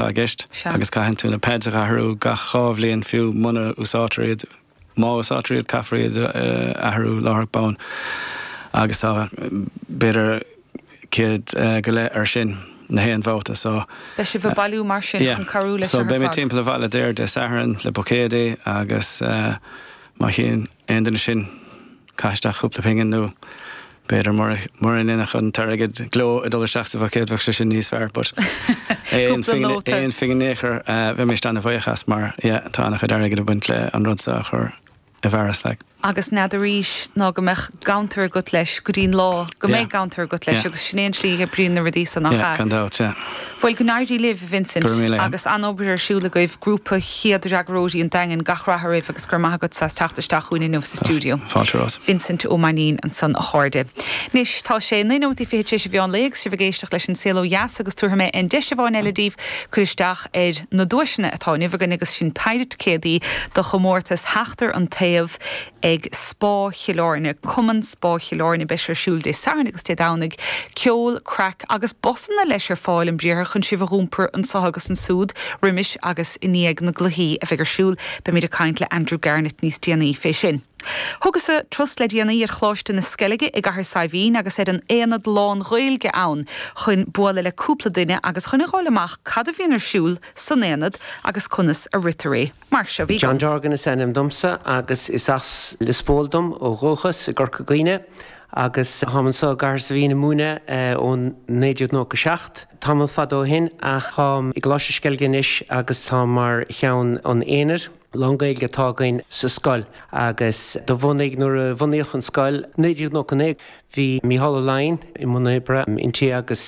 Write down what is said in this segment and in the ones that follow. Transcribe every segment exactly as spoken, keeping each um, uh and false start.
I gceist agus caitheann tú na pads a athrú gach dhá bhliain fiú muna úsáidtear iad má úsáidtear iad caithfear iad athrú láithreach bonn agus tá b'fhéidir céad go leith ar sin na haon bhabhta so. Beidh sibh ag bailiú mar sin chun cabhrú leis So beidh mé timpeall an bhaile déir Dé Sathairn le buicéadaí agus má théann aon duine sin caith isteach cúpla pingin nó b'fhéidir mura ndéanfadh an t-airgead gleo ag dul isteach sa bhuicéad bheadh sé sin níos fearr but aon phingin in aon chor bheidh mé an-bhuíoch as mar yeah tá an-chuid airgid ag baint le an rud seo a chur i bhfearas like. Agus n'fheadar arís ná go mbeadh ganntar agat leis go dtí'n lá go mbeidh ganntar agat leis agus sin é an tslí a oibríonn na rudaí san nach ea? Gan dabht, yeah. Bhuel go n-éirí libh, Vincent, agus an-obair ar siúl agaibh, grúpa chéad fhreagróirí an Daingin, gach rath oraibh agus go raibh maith agat as teacht isteach chugainn inniu sa stiúideo. Fáilte romhat. Vincent Ó Mainnín ansan a chairde. Anois tá sé naoi nóiméad fiche tar éis an mheán lae agus sibh ag éisteacht leis an Saol Ó Dheas agus tabharfaidh mé an deis amháin eile daoibh cur isteach ar na duaiseanna atá inniu againn agus sin péire ticéadaí do chomórtas Theachtar an Taobh ag Spá Chill Airne, Cumann Spá Chill Airne beidh sé ar siúl Dé Sathairn agus Dé Domhnaigh, ceol, craic agus busanna leis ar fáil an briathar chun sibh a dh'iompar anso agus ansúd roimis agus i ndiaidh na gcluichí a bheidh ar siúl. Beimid ag caint le Andrew Garnett níos déanaí fé sin. Thugas-sa turas le déanaí ar Choláiste na Sceilge i gCathair Saidhbhín agus ar an aonad lán-Ghaeilge ann chun bualadh le cúpla duine agus chun a fháil amach cad a bhíonn ar siúl san aonad agus conas a ritear é. Mar seo bhí. John Dorgan is ainm domsa agus is as Lios Póil dom ó dhúchas i gCorca Dhuibhne agus táim anseo i gCathair Saidhbhín ag múineadh ó naoi déag nócha seacht. Tamall fada ó shin ach táim i gColáiste Sceilge anois agus táim mar cheann an aonaid. Lán-Ghaeilge atá againn sa scoil agus do bhunaigh nuair a bunaíodh an scoil naoi déag nócha naoi bhí Mícheál Ó Laighin i mbun oibre inti agus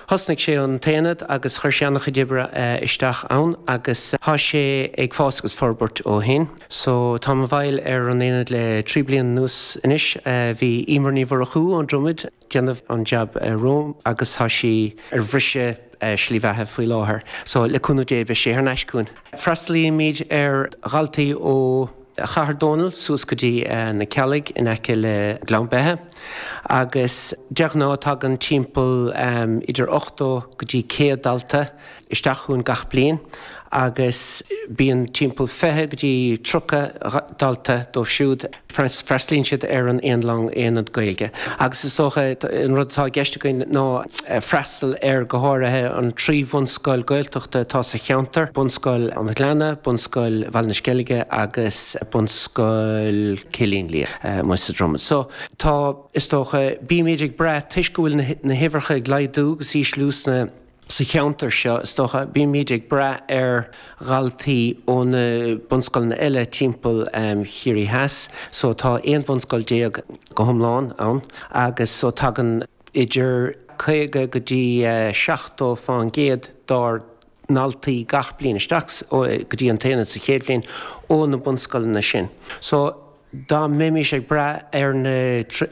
thosnaigh sé an t-aonad agus chuir sé an-chuid oibre isteach ann agus tá sé ag fás agus forbairt ó shin. So táim i bhfeighil ar an aonad le trí bliana anuas anois. Bhí Emer Ní Mhurchú ón Dromad ag déanamh an jab romham agus tá sí ar bhriseadh slí bheatha faoi láthair. So le cúnamh Dé beidh sé thar n-ais chugainn. Freastalaímid ar dhaltaí ó Chathair Dónall suas go dtí na Ceallaigh in aice le Gleann Beithe agus de ghnáth tagann timpeall idir ochtó go dtí céad dalta isteach chugainn gach bliain agus bíonn timpeall fiche go dtí tríocha dalta dóibh siúd freastalaíonn siad ar an aon lán aonad Gaeilge. Agus is dócha an rud atá i gceist againn ná freastal ar go háirithe an trí bhunscoil Gaeltachta atá sa cheantar, Bunscoil an Ghleanna, Bunscoil Bhaile na Sceilge agus Bunscoil Chillín Liath amuigh sa Dromad. So tá is dócha bímid ag brath toisc go bhfuil na huimhreacha ag laghdú agus ísliú sna Sa cheantar seo, is dócha, bímid ag brath ar dhaltaí ó na bunscoileanna eile timpeall Chiarraí Theas. So tá aon bhunscoil déag go hiomlán ann agus so tagann idir caoga go dtí seachtó fán gcéad dár ndaltaí gach bliain isteach go dtí an t-aonad sa chéad bhliain ó na bunscoileanna sin. So. Dá mbeimis ag brath ar na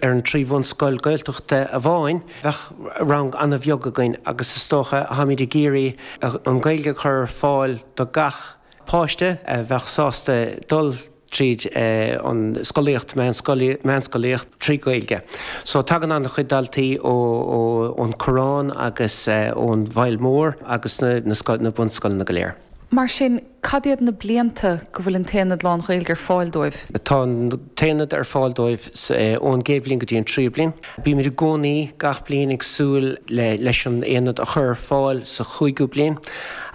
ar an trí bhunscoil Gaeltachta amháin, bheadh rang an-bheag againn agus is dócha táimid ag iarraidh an Ghaeilge a chur ar fáil do gach páiste a bheadh sásta dul tríd an scolaíocht, meánscolaíocht trí Ghaeilge. So tagann an-chuid daltaí ó ón Choireán agus ón bhFaill Mhór agus na na bunscoileanna go léir. Mar sin, cad iad na blianta go bhfuil an t-aonad lán-Ghaeilge ar fáil dóibh? Tá an t-aonad ar fáil dóibh ón gcéad bhliain go dtí an tríú bliain. Bímid i gcónaí gach bliain ag súil leis an aonad a chur ar fáil sa chúigiú bliain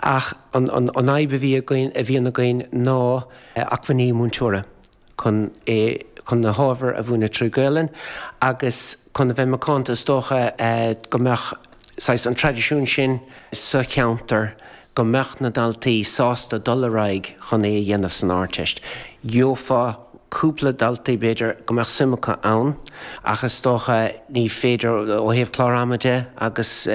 ach an fhadhb a bhí againn, a bhíonn againn ná acmhainní múinteora. chun é chun na hábhair a mhúineadh trí Ghaelainn agus chun a bheith macánta is dócha go mbeadh saghas an traidisiún sin sa cheantar go mbeadh na daltaí sásta dul ar aghaidh chun é a dhéanamh san Ardteist. Gheofá cúpla daltaí b'fhéidir go mbeadh suim acu ann ach is dócha ní féidir ó thaobh clár ama de agus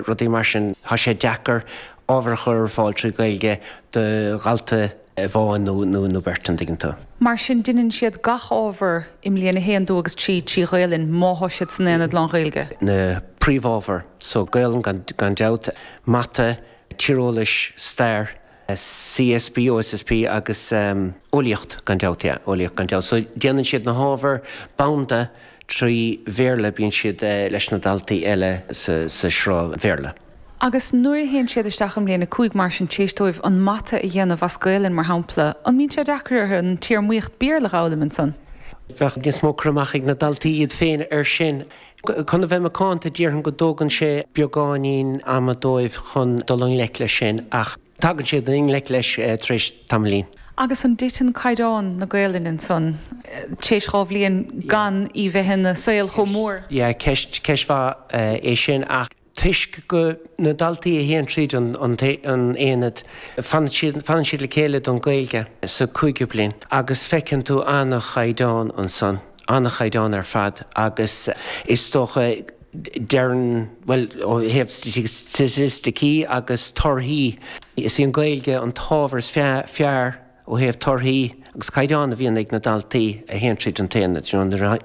rudaí mar sin tá sé deacair ábhar a chur ar fáil trí Ghaeilge do dhalta amháin nó nó beirt, an dtuigeann tú. Mar sin, deineann siad gach ábhar i mbliain a haon, dó agus trí trí Ghaelainn má thá siad san aonad lán-Ghaeilge. Na príomhábhair, so Gaelainn gan gan dabht, Mata, Tíreolais, Stair, CSB, OSSP agus Eolaíocht gan dabht, yeah, Eolaíocht gan dabht. So déanann siad na hábhair bonn trí Bhéarla, bíonn siad leis na daltaí eile sa sa sruth Bhéarla. Agus nuair a théann siad isteach i mbliain a cúig mar sin tar éis dóibh an mata a dhéanamh as Gaelainn mar shampla, an mbíonn sé deacair orthu an téarmaíocht Béarla a fhoghlaim ansan? Bheadh níos mó cur amach ag na daltaí iad féin air sin. Chun a bheith macánta déarfainn go dtógann sé beagáinín ama dóibh chun dul i ngleic leis sin ach tagann siad i ngleic leis tar éis tamaillín. Agus an dtiteann caighdeán na Gaelainne ansan tar éis dhá bhliain gan í bheith ina saol chomh mór? Yeah, ceist ceist mhaith é sin ach toisc go na daltaí a théann tríd an an aonad fanann siad fanann siad le chéile don Ghaeilge sa cúigiú bliain agus feiceann tú an-chaighdeán ansan, an-chaighdeán ar fad agus is dócha deireann bhuel ó thaobh staitisticí agus torthaí is í an Ghaeilge an t-ábhar is fearr ó thaobh torthaí agus caighdeán a bhíonn ag na daltaí a théann tríd an t-aonad,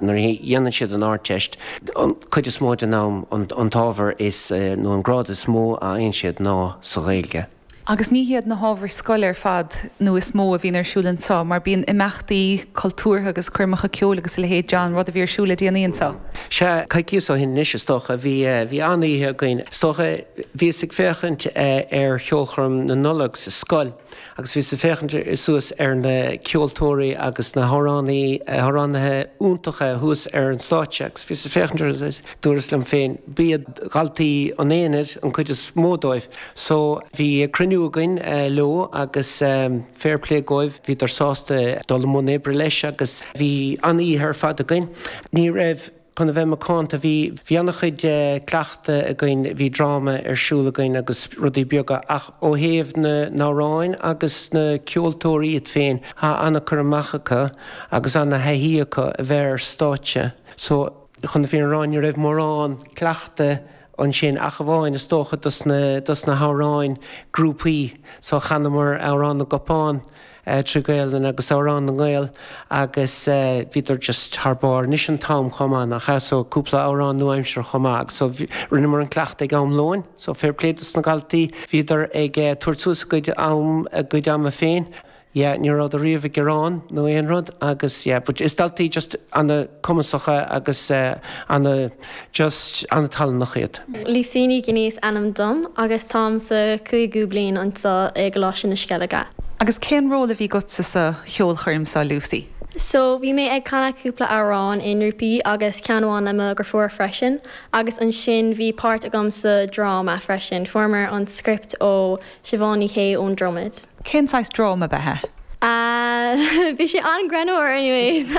nuair a dhéanann siad an Ardteist, an chuid is mó den am an t-ábhar is nó an grád is mó a fhaigheann siad ná sa Ghaeilge. Agus ní hiad na hábhair scoile ar fad nó is mó a bhíonn ar siúl anseo, mar bíonn imeachtaí cultúrtha agus coirmeacha ceoil agus a leithéid John, rud a bhí ar siúl le déanaí anseo. Sea, coicíos ó shin anois is dócha, bhí bhí an-oíche againn. Is dócha, bhíos ag féachaint ar cheolchoirm na Nollag sa scoil agus bhíos ag féachaint suas ar na ceoltóirí agus na hamhránaí, hamhránaithe iontacha thuas ar an stáitse agus bhíos ag féachaint orthu agus dúras liom féin, b'iad daltaí an aonaid an chuid is mó dóibh. So bhí cruinniú againn leo agus fair play dóibh, bhíodar sásta dul i mbun oibre leis agus bhí an-oíche ar fad againn. Ní raibh. Chun a bheith macánta, bhí bhí an-chuid cleachtadh againn, bhí dráma ar siúl againn agus rudaí beaga ach ó thaobh na n-amhráin agus na ceoltóirí iad féin, tá an-chur amach acu agus an-thaithí acu a bheith ar stáitse. So, chun na fírinne a rá, ní raibh mórán cleachtadh ansin ach amháin is dócha dos na dos na hamhráin grúpaí. So chanamar Amhrán na gCupán trí Ghaelainn agus Amhrán na nGael agus bhíodar just thar barr. Anois an t-am chomh maith nach ea? So cúpla amhrán nua-aimseartha chomh maith agus so rinneamar an cleachtadh ag am lóin. So fair play dos na daltaí, bhíodar ag tabhairt suas a gcuid am a gcuid ama féin. Yeah, ní rabhadar riamh ag gearán nó aon rud agus yeah, but is daltaí just ana-chumasacha agus ana just ana-thallanach iad. Lucy Ní Ghinn is ainm dom agus táim sa cúigiú bliain anseo i gColáiste na Sceilge. Agus cén ról a bhí agatsa sa cheolchoirm seo Lucy? So bhí mé ag canadh cúpla amhrán i ngrúpaí agus ceann amháin le mo dheirfiúr freisin agus ansin bhí páirt agam sa dráma freisin. Fuaireamar an script ó Siobhán Ní Shé ón Dromad. Cén saghas dráma ab ea é? Bhí sé an-ghreannmhar anyways.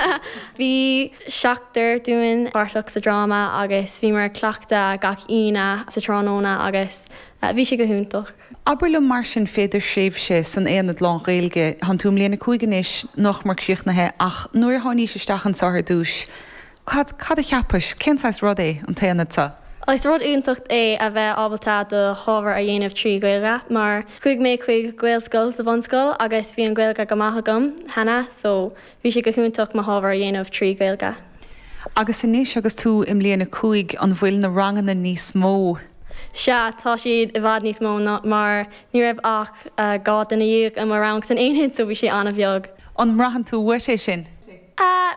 Bhí seachtar dúinn páirteach sa dráma agus bhíomar ag cleachtadh gach Aoine sa tráthnóna agus bhí sé go hiontach. Abair liom mar sin fé do thréimhse san Aonad lán-Ghaeilge, tánn tú i mbliain a cúig anois, nach mór críochnaithe, ach nuair a tháinís isteach anseo ar dtús, cad, cad a cheapais, cén saghas rud é an t-aonad seo? Is rud iontach é a bheith ábalta do hábhar a dhéanamh trí Ghaeilge mar chuaigh mé chuig Gaelscoil sa bhunscoil agus bhí an Ghaeilge go maith agam cheana so bhí sé go hiontach mo hábhar a dhéanamh trí Ghaeilge. Agus anois agus tú i mbliain a cúig, an bhfuil na ranganna níos mó? Sea, tá siad i bhfad níos mó ná mar ní raibh ach dhá duine dhéag i mo rang san aonad so bhí sé an-bheag. An mbraitheann tú uait é sin?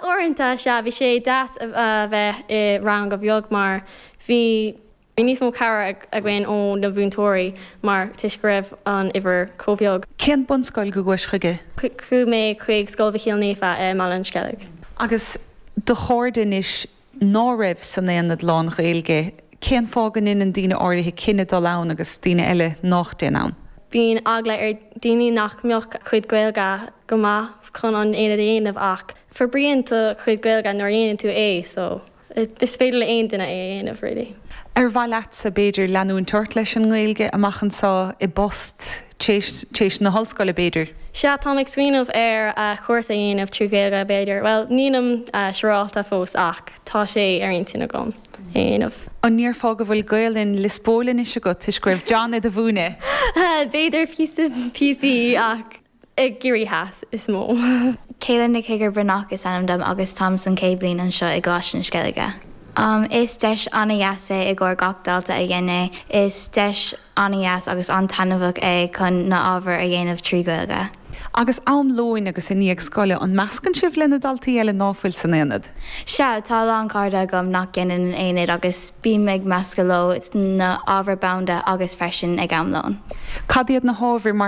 Uaireanta, sea. Bhí sé deas a bheith i rang bheag mar bhí níos mó cabhair againn ó na mhúinteoirí mar toisc go raibh an uimhir chomh beag. Cén bunscoil go gcuais chuige? Chuaigh mé chuig Scoil Mhichíl Naofa i mBaile an Sceilg. Agus do chairde anois ná raibh san aonad lán-Ghaeilge, cén fáth go ndeineann daoine áirithe cinneadh dul ann agus daoine eile nách dtéann ann? Bíonn eagla ar daoine nach mbeadh a gcuid Gaeilge go maith chun an aonad a dhéanamh ach forbraíonn do chuid Gaeilge nuair a dhéanann tú é so is féidir le aon duine é a dhéanamh really. Ar mhaith leatsa b'fhéidir leanúint ort leis an nGaeilge amach anseo i bpost tréis na hollscoile b'fhéidir? Sea, táim ag smaoineamh ar chúrsa a dhéanamh trí Ghaeilge b'fhéidir. Bhuel, nílim siúrálta fós ach tá sé ar intinn agam é a dhéanamh. An ndéarfá go bhfuil Gaelainn Lios Póil anois agat toisc go raibh John i do mhúineadh? B'fhéidir píosa píosaí ach i gCiarraí Theas is mó. Caitlin Nic Shigair Breathnach is ainm dom agus táim san chéad bhliain anseo i gColáiste na Sceilge. Is deis an-dheas é i gcomhair gach dalta a dhein é. Is deis an-dheas agus an-taitneamhach é chun na ábhair a dhéanamh trí Ghaeilge. Agus am lóin agus i ndiaidh scoile an meascann sibh le na daltaí eile nach bhfuil san aonad. Sea tá lán cairde agam nach ndéanann an aonad agus bím ag meascadh leo na ábhair banda agus freisin ag am lóin. Cad iad na hábhair mar